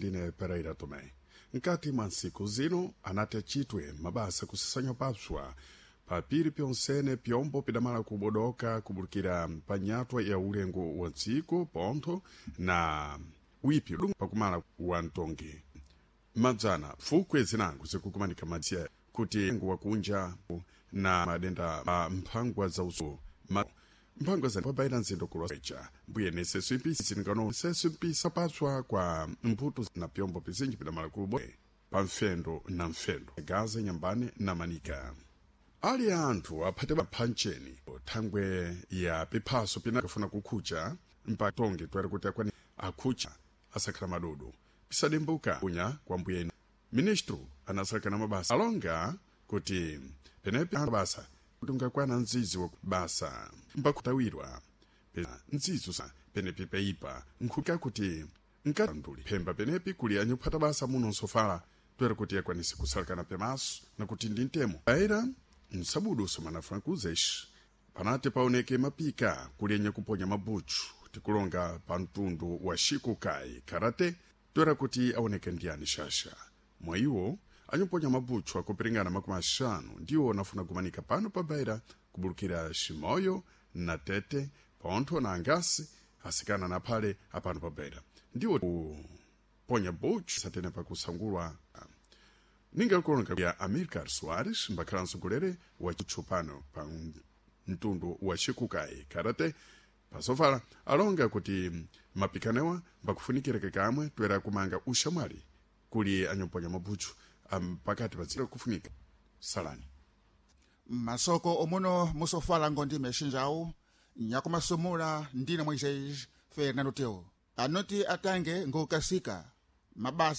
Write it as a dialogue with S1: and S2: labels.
S1: Ndine Pereira Tomé. Nkati mwa ntsiku zino anati achitwe mabasa kusasanya papswa papiri pyonsene pyombo pidamala kubodoka kubulukira pa nyatwa ya ulengo wa dziko pontho na wipi pakumala wa mtongi madzana fukwe zinango zikukumanika madziya kuti wakunja na madenda a mphangwa za uso mphangwa za pabaira nzindo kulwacha mbuye nesesu impisi zingano sesu mpisa patswa kwa mputu na pyombo pizinji pidamala kubo pa mfendo na mfendo gaza nyambane na manika ali anthu aphate phancheni thangwe ya piphaso pina kafuna kukhucha mpatonge twere kuti akwani akhucha asakhala madudu pisadimbuka kunya kwa mbuyeni ministro anasakana mabasa alonga kuti penepi basa tungakwana mzizi wa basa mbakutawirwa nzizo sa penepi peipa nkhuka kuti nkanduli phemba penepi kuli anyuphata basa muno nsofala twere kuti akwanise kusalakana pemaso nakuti ndi ntemo aira msabudu somana francuzes panati paoneke mapika kulenye kuponya mabuchu tikulonga pa mtundu wa shikukai karate twera kuti aoneke ndiyani shasha mwa iwo anyuponya mabuchu akupiringana 50 ndiwo anafuna kumanika pano pa Beira kubulukira Shimoyo na Tete pontho na Angasi asikana na phale apano pa Beira ndiwo kuponya buchu satene pakusangulwa ninga kulonga ya Amilcar Soares mbakhala msogolere wa chupano pa mtundu wa shikukai karate pasofala alonga kuti mapikanewa mbakufunikira kamwe twera kumanga ushamwali kuli anyamponya mabuchu pakati pa kufunika salani
S2: Masoko omuno musofala ngondi mexinjawu nyakumasumula ndine Moisés Fernando Teo anoti atange ngokasika mabasa.